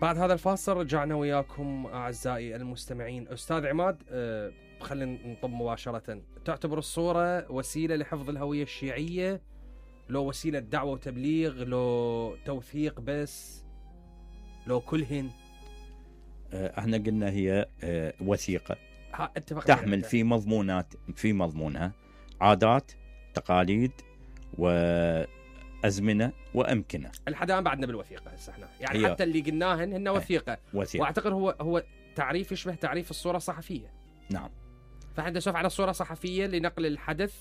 بعد هذا الفاصل رجعنا وياكم أعزائي المستمعين. أستاذ عماد، خلينا نطب مباشرة. تعتبر الصورة وسيلة لحفظ الهوية الشيعية، لو وسيلة دعوة وتبليغ، لو توثيق بس، لو كلهن؟ احنا قلنا هي وثيقة تحمل في مضمونها عادات، تقاليد، وأزمنة وأمكنة. لحد الآن بعدنا بالوثيقة هسه احنا، يعني حتى اللي قلناهن هن وثيقة. واعتقد هو تعريف يشبه تعريف الصورة الصحفية. نعم. فاحنا نسولف على الصورة الصحفية لنقل الحدث،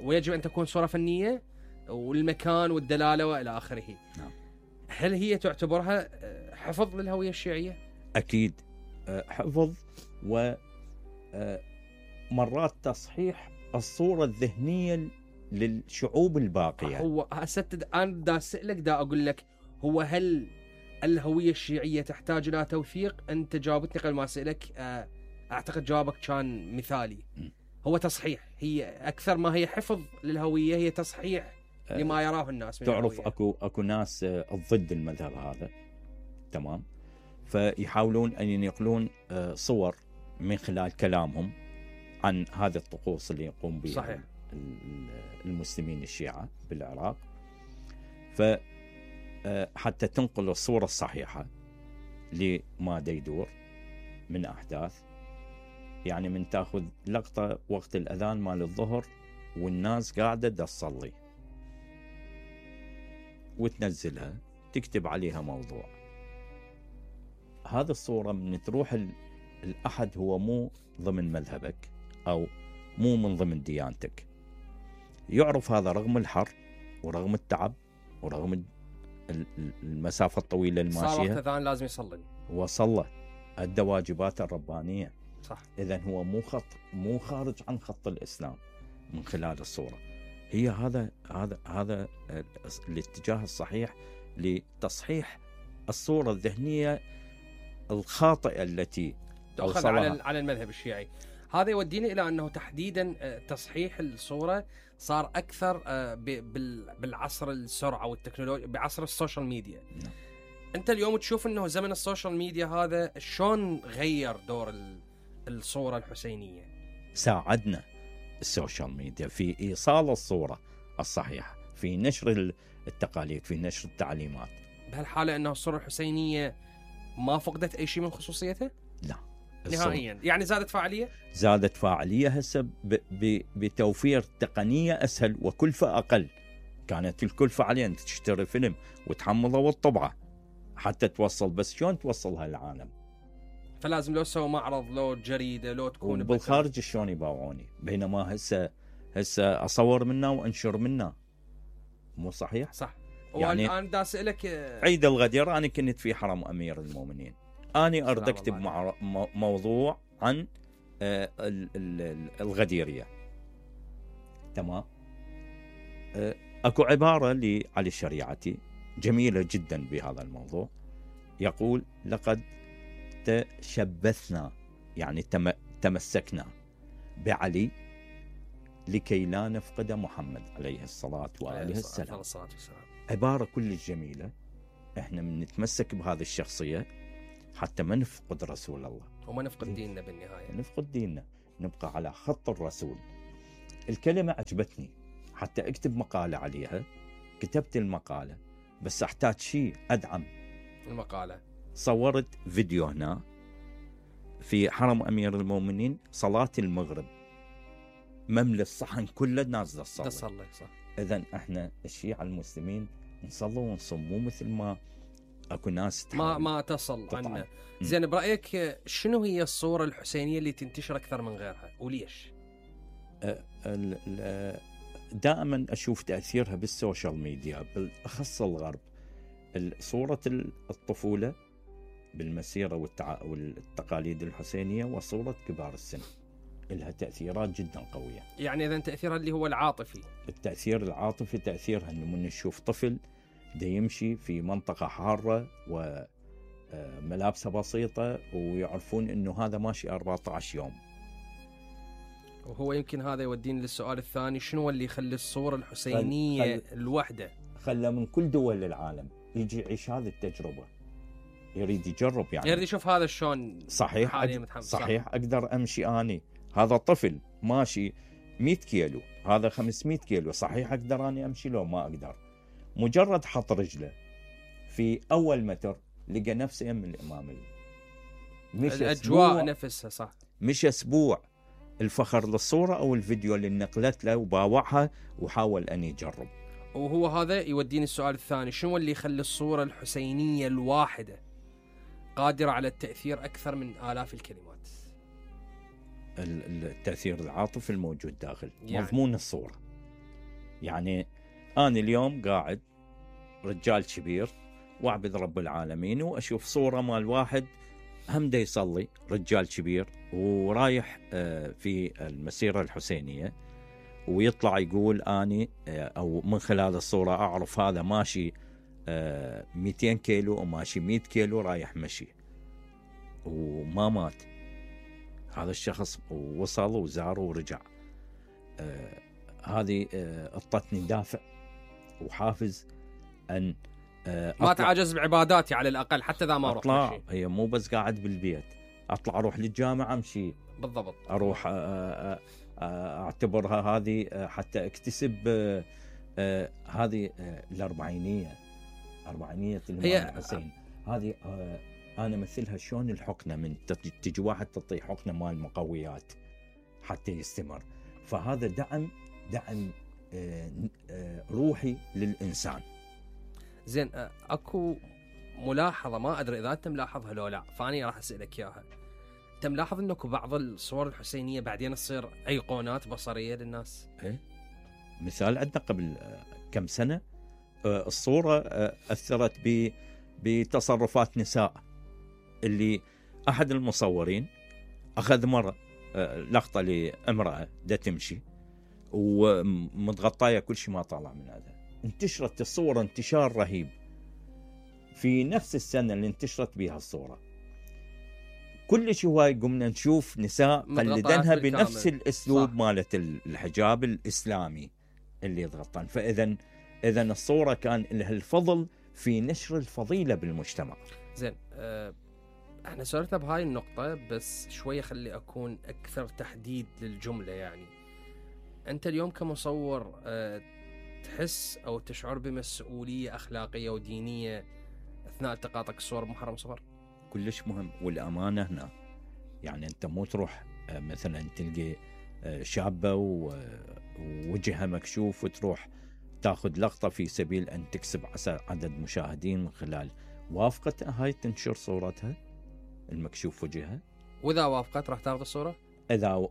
ويجب أن تكون صورة فنية، والمكان والدلالة وإلى آخره. نعم. هل هي تعتبرها حفظ للهوية الشيعية؟ أكيد حفظ، ومرات تصحيح الصورة الذهنية للشعوب الباقية. هو هسه أنا دا أسألك، دا أقول لك، هو هل الهوية الشيعية تحتاج إلى توثيق؟ أنت جاوبتني قبل ما أسألك، أعتقد جوابك كان مثالي. هو تصحيح، هي أكثر ما هي حفظ للهوية، هي تصحيح لما يراه الناس من تعرف الهوية. أكو ناس ضد المذهب هذا، تمام، فيحاولون أن ينقلون صور من خلال كلامهم عن هذه الطقوس اللي يقوم بها صحيح المسلمين الشيعة بالعراق، فحتى تنقل الصورة الصحيحة لما يدور من أحداث. يعني من تأخذ لقطة وقت الأذان مال الظهر والناس قاعدة تصلي، وتنزلها تكتب عليها موضوع. هذا الصورة من تروح الأحد هو مو ضمن مذهبك أو مو من ضمن ديانتك، يعرف هذا رغم الحر ورغم التعب ورغم المسافة الطويلة الماشية، صار وقت أذان لازم يصلي، وصلى أدى واجبات الربانية. صح. إذن هو مو خارج عن خط الإسلام من خلال الصورة. هي هذا الاتجاه الصحيح لتصحيح الصورة الذهنية الخاطئة التي تأخذ على المذهب الشيعي. هذا يودينا إلى أنه تحديدا تصحيح الصورة صار أكثر بالعصر السرعة والتكنولوجيا، بعصر السوشيال ميديا. نعم. أنت اليوم تشوف أنه زمن السوشيال ميديا هذا شلون غير دور الصورة الحسينية؟ ساعدنا السوشيال ميديا في إيصال الصورة الصحيحة، في نشر التقاليد، في نشر التعليمات. بهالحالة أنه الصورة الحسينية ما فقدت أي شيء من خصوصيتها؟ لا نهائيا. يعني زادت فاعلية هسه بتوفير تقنية أسهل وكلفة أقل. كانت الكلفة عليه أن تشتري فيلم وتحمله والطبعة حتى توصل، بس شلون توصلها للعالم؟ فلازم لو سووا معرض، لو جريدة، لو تكون بالخارج شلون يباوعوني، بينما هسه أصور منا وأنشر منا. مو صحيح؟ صح. يعني أنا دا أسألك، عيد الغدير أنا كنت في حرم أمير المؤمنين، أنا أريد أكتب موضوع عن الغديرية، تمام. أكو عبارة لعلي الشريعتي جميلة جدا بهذا الموضوع، يقول: لقد تشبثنا، يعني تمسكنا بعلي لكي لا نفقد محمد عليه الصلاة وآله السلام. عبارة كلش جميلة. احنا نتمسك بهذه الشخصية حتى ما نفقد رسول الله وما نفقد ديننا بالنهاية، نفقد ديننا، نبقى على خط الرسول. الكلمة عجبتني حتى اكتب مقالة عليها. كتبت المقالة، بس احتاج شيء ادعم المقالة. صورت فيديو هنا في حرم أمير المؤمنين صلاة المغرب، مملي الصحن كله الناس تصلي. صح. إذن احنا الشيعة المسلمين نصلوا ونصوم، مو مثل ما اكو ناس ما تصل عنا. زين، برأيك شنو هي الصورة الحسينية اللي تنتشر أكثر من غيرها وليش؟ دائما أشوف تأثيرها بالسوشيال ميديا، بالأخص الغرب. صورة الطفولة بالمسيرة والتقاليد الحسينية، وصورة كبار السن، لها تأثيرات جدا قوية. يعني إذا تأثيرها اللي هو العاطفي، التأثير العاطفي، تأثيرها إنه من نشوف طفل دا يمشي في منطقة حارة وملابسه بسيطة، ويعرفون إنه هذا ماشي 14 يوم. وهو يمكن هذا يودينا للسؤال الثاني، شنو اللي يخلي الصورة الحسينية الوحدة؟ خلى من كل دول العالم يجي يعيش هذه التجربة، يريد يجرب يعني، يريد يشوف هذا شلون. صحيح صحيح. اقدر امشي اني، هذا طفل ماشي 100 كيلو، هذا 500 كيلو، صحيح اقدر اني امشي لو ما اقدر. مجرد حط رجله في اول متر لقى نفسه يم الامام، مش الاجواء نفسها صح، مش اسبوع. الفخر للصوره او الفيديو اللي نقلت له وباوعها وحاول ان يجرب. وهو هذا يوديني السؤال الثاني، شنو اللي يخلي الصوره الحسينيه الواحده قادره على التاثير اكثر من آلاف الكلمات؟ التاثير العاطفي الموجود داخل يعني مضمون الصوره. يعني انا اليوم قاعد رجال كبير واعبد رب العالمين، واشوف صوره مال واحد هم دا يصلي، رجال كبير ورايح في المسيره الحسينيه، ويطلع يقول اني او من خلال الصوره اعرف هذا ماشي 200 كيلو وماشي 100 كيلو رايح مشي وما مات. هذا الشخص وصل وزار ورجع. هذه اعطتني دافع وحافز ان ما تعجز بعباداتي على الاقل حتى اذا ما رحت مشي. هي مو بس قاعد بالبيت، اطلع اروح للجامعه امشي بالضبط، اروح اعتبرها هذه حتى اكتسب هذه الاربعينيه الامام الحسين. هذه انا مثلها شلون الحقنه من تجي واحد تعطيه حقنه مال مقويات حتى يستمر. فهذا دعم روحي للانسان. زين، اكو ملاحظه ما ادري اذا انت ملاحظها لو لا، فاني راح اسالك اياها. انت ملاحظ انه بعض الصور الحسينيه بعدين تصير ايقونات بصريه للناس؟ ايه، مثال عندنا قبل كم سنه الصوره اثرت بتصرفات نساء، اللي احد المصورين اخذ مره لقطه لامراه دا تمشي ومتغطايه كل شيء ما طالع من هذا. انتشرت الصوره انتشار رهيب. في نفس السنه اللي انتشرت بها الصوره كل شوي قمنا نشوف نساء قلدنها بنفس الاسلوب مالت الحجاب الاسلامي اللي يتغطن. فاذا الصوره كان لها الفضل في نشر الفضيله بالمجتمع. زين، احنا سولفنا بهاي النقطه، بس شويه خلي اكون اكثر تحديد للجمله. يعني انت اليوم كمصور تحس او تشعر بمسؤوليه اخلاقيه ودينيه اثناء التقاطك الصور بمحرم صفر؟ كلش مهم، والامانه هنا. يعني انت مو تروح مثلا تلقي شابه ووجهها مكشوف وتروح تاخذ لقطه في سبيل ان تكسب عدد مشاهدين من خلال وافقت هاي تنشر صورتها المكشوف وجهها. واذا وافقت راح تاخذ الصوره؟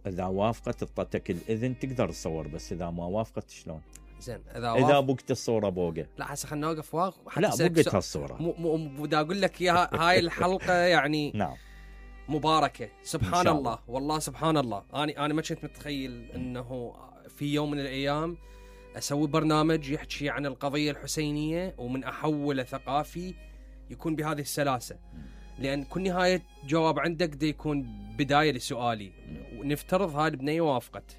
اذا وافقت اعطتك الاذن تقدر تصور، بس اذا ما وافقت شلون؟ زين، اذا بقت الصوره بوقه. لا هسه خلينا نوقف لا بقت هالصوره. بدي اقول لك اياها. هاي الحلقه يعني نعم مباركه سبحان الله، والله سبحان الله. انا ما كنت متخيل انه في يوم من الايام اسوي برنامج يحكي عن القضيه الحسينيه ومن احوله ثقافي يكون بهذه السلاسه. لان كل نهايه جواب عندك دا يكون بدايه لسؤالي. نفترض هاي البنيه وافقت،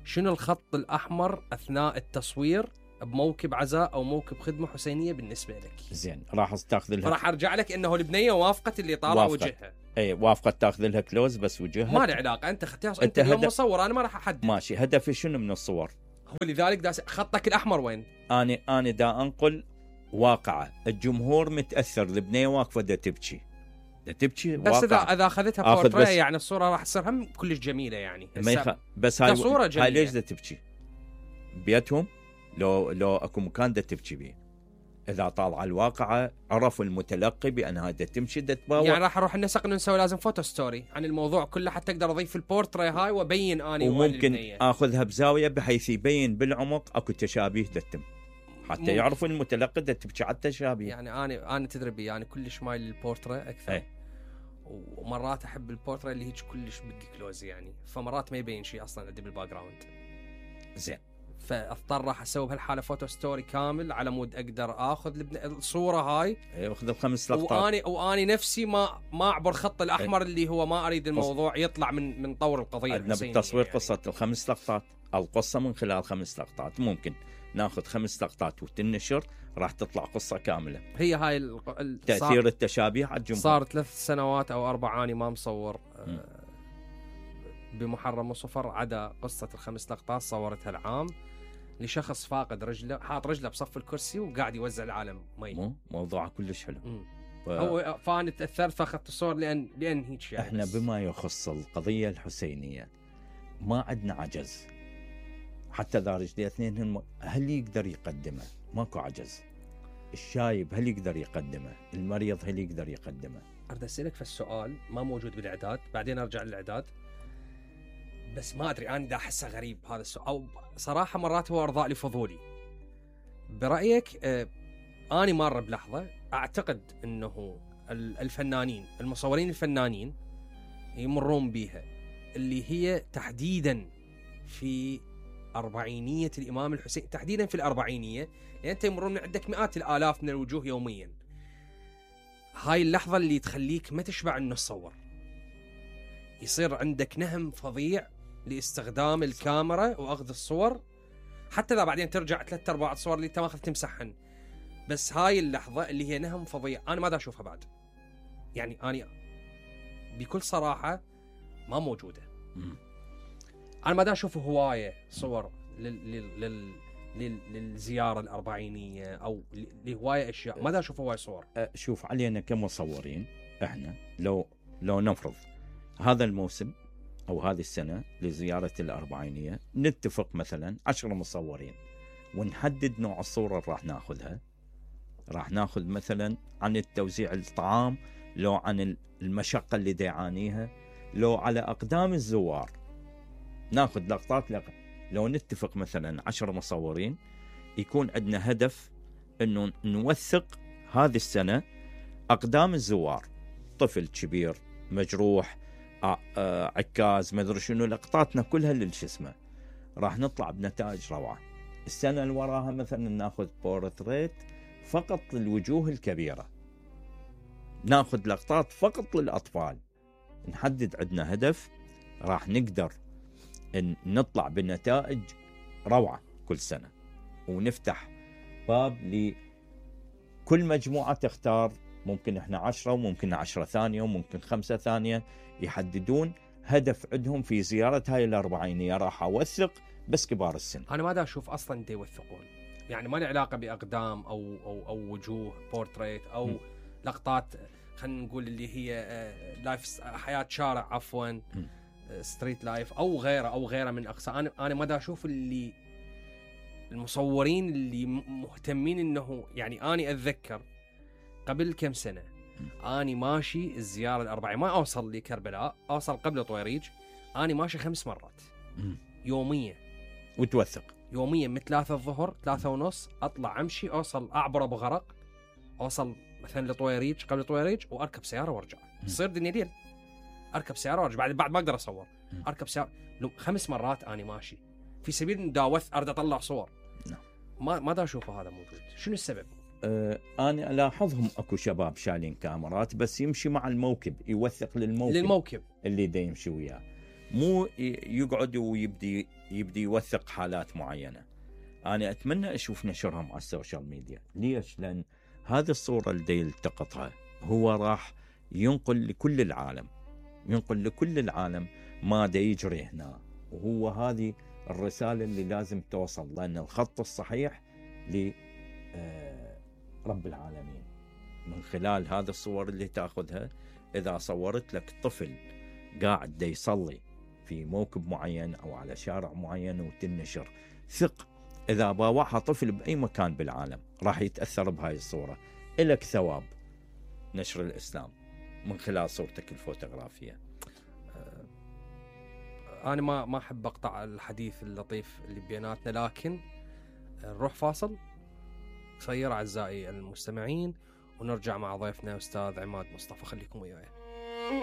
شنو الخط الأحمر أثناء التصوير بموكب عزاء أو موكب خدمة حسينية بالنسبة لك؟ زين، راح تاخذ لها، راح أرجع لك إنه البنية وافقت اللي طالع وجهها. اي وافقت تاخذ لها كلوز بس وجهها ما له علاقة. أنت اليوم مصور، أنا ما راح أحدد. ماشي، هدفي شنو من الصور؟ هو لذلك خطك الأحمر وين؟ أنا دا أنقل واقعة. الجمهور متأثر، البنية واقفة دا تبكي بس اذا اخذتها بورتريه يعني الصوره راح تصير هم كلش جميله. يعني بس هاي ليش دا تبكي بيتهم؟ لو اكو مكان دا تبكي بيه. اذا طالع الواقعه عرف المتلقي بان هذا تمشي دا تباوع. يعني راح اروح النسق انه نسوي لازم فوتو ستوري عن الموضوع كله حتى اقدر اضيف البورتريه هاي وابين اني وممكن اخذها بزاويه بحيث يبين بالعمق اكو تشابيه دا تتم حتى يعرفوا المتلقي دا تبكي على التشابيه. يعني انا تدري بي يعني كلش مايل للبورتريه اكثر. ومرات احب البورتريه اللي هيك كلش بقي كلوز يعني، فمرات ما يبين شيء اصلا عندي بالباك جراوند. زين، فاضطر راح اسوي بهالحاله فوتو ستوري كامل على مود اقدر اخذ الصوره هاي واخذ الخمس لقطات. واني نفسي ما اعبر خط الاحمر اللي هو ما اريد الموضوع يطلع من طور القضيه الحسينيه. بالتصوير يعني قصه الخمس لقطات، القصه من خلال 5 لقطات. ممكن ناخذ 5 لقطات وتنشر راح تطلع قصة كاملة. هي هاي تأثير التشابيه على الجمهور. صار 3 سنوات أو 4 أنا ما مصور بمحرم وصفر، عدا قصة ال5 لقطات صورتها العام لشخص فاقد رجله، حاط رجله بصف الكرسي وقاعد يوزع العالم مي. موضوع كلش حلو. هو فأنا تأثرت فأخذت الصور لأن هيك يعني. احنا بما يخص القضية الحسينية ما عندنا عجز، حتى ذا رجلي اثنين هل يقدر يقدمه؟ ماكو عجز. الشايب هل يقدر يقدمه؟ المريض هل يقدر يقدمه؟ أريد أسألك في السؤال ما موجود بالإعداد، بعدين أرجع للإعداد، بس ما أدري أنا دا أحسه غريب هذا السؤال، أو صراحة مرات هو أرضاء لفضولي. برأيك أنا مرة بلحظة أعتقد أنه الفنانين المصورين الفنانين يمرون بيها، اللي هي تحديدا في أربعينية الإمام الحسين، تحديدا في الأربعينية، لأن أنت يمرون من عندك مئات الآلاف من الوجوه يوميا. هاي اللحظة اللي تخليك ما تشبع إنه تصور، يصير عندك نهم فظيع لاستخدام الكاميرا وأخذ الصور، حتى إذا بعدين ترجع 3/4 الصور اللي أنت ماخذ تمسحهن، بس هاي اللحظة اللي هي نهم فظيع أنا ما دا أشوفها بعد. يعني أنا بكل صراحة ما موجودة. أنا ما دا أشوف هواية صور للزيارة الأربعينية أو لهواية أشياء، ما دا أشوف هواية صور. شوف علينا كمصورين إحنا لو نفرض هذا الموسم أو هذه السنة لزيارة الأربعينية، نتفق مثلا 10 مصورين ونحدد نوع الصورة اللي راح ناخذها. راح ناخذ مثلا عن التوزيع الطعام، لو عن المشقة اللي ديعانيها، لو على أقدام الزوار، ناخذ لقطات لو نتفق مثلا 10 مصورين يكون عندنا هدف انه نوثق هذه السنة أقدام الزوار، طفل كبير مجروح عكاز ما ادري شنو، لقطاتنا كلها للجسمة راح نطلع بنتائج روعة. السنة اللي وراها مثلا ناخذ بورتريت فقط للوجوه الكبيرة، ناخذ لقطات فقط للأطفال. نحدد عندنا هدف راح نقدر ان نطلع بنتائج روعة كل سنة، ونفتح باب لكل مجموعة تختار، ممكن احنا 10 وممكن 10 ثانية وممكن 5 ثانية، يحددون هدف عندهم في زيارة هاي الأربعينية. راح أوثق بس كبار السن. أنا ما دا أشوف أصلا دا يوثقون، يعني ما له علاقة بأقدام أو وجوه بورتريت أو لقطات خلينا نقول اللي هي لايف حياة شارع عفوا ستريت لايف أو غيره من أقسام. أنا ما دا أشوف اللي المصورين اللي مهتمين إنه يعني أنا أتذكر قبل كم سنة أنا ماشي الزيارة الأربعين، ما أوصل لكربلاء، أوصل قبل طويريج، أنا ماشي 5 مرات يوميا وتوثق يوميا من 3 الظهر 3:30 أطلع أمشي، أوصل أعبر أبو غرق، أوصل مثلا لطويريج قبل طويريج وأركب سيارة وأرجع. تصير دنيا ليل أركب سيارة وأرجع، بعد ما أقدر أصور أركب سيارة 5 مرات أنا ماشي في سبيل إن داوث أرد أطلع صور. ما دا أشوفه هذا موجود. شنو السبب؟ أنا ألاحظهم أكو شباب شايلين كاميرات بس يمشي مع الموكب، يوثق للموكب اللي دا يمشي وياه، مو يقعد ويبدي يوثق حالات معينة. أنا أتمنى أشوف نشرهم على السوشيال ميديا. ليش؟ لأن هذه الصورة اللي يلتقطها هو راح ينقل لكل العالم ما دا يجري هنا، وهو هذه الرسالة اللي لازم توصل، لأن الخط الصحيح لرب العالمين من خلال هذه الصور اللي تأخذها. إذا صورت لك طفل قاعد دا يصلي في موكب معين أو على شارع معين وتنشر، ثق إذا باوعها طفل بأي مكان بالعالم راح يتأثر بهاي الصورة. إلك ثواب نشر الإسلام من خلال صورتك الفوتوغرافية. أنا ما أحب أقطع الحديث اللطيف اللي بيناتنا، لكن نروح فاصل قصير أعزائي المستمعين ونرجع مع ضيفنا أستاذ عماد مصطفى. خليكم وياي.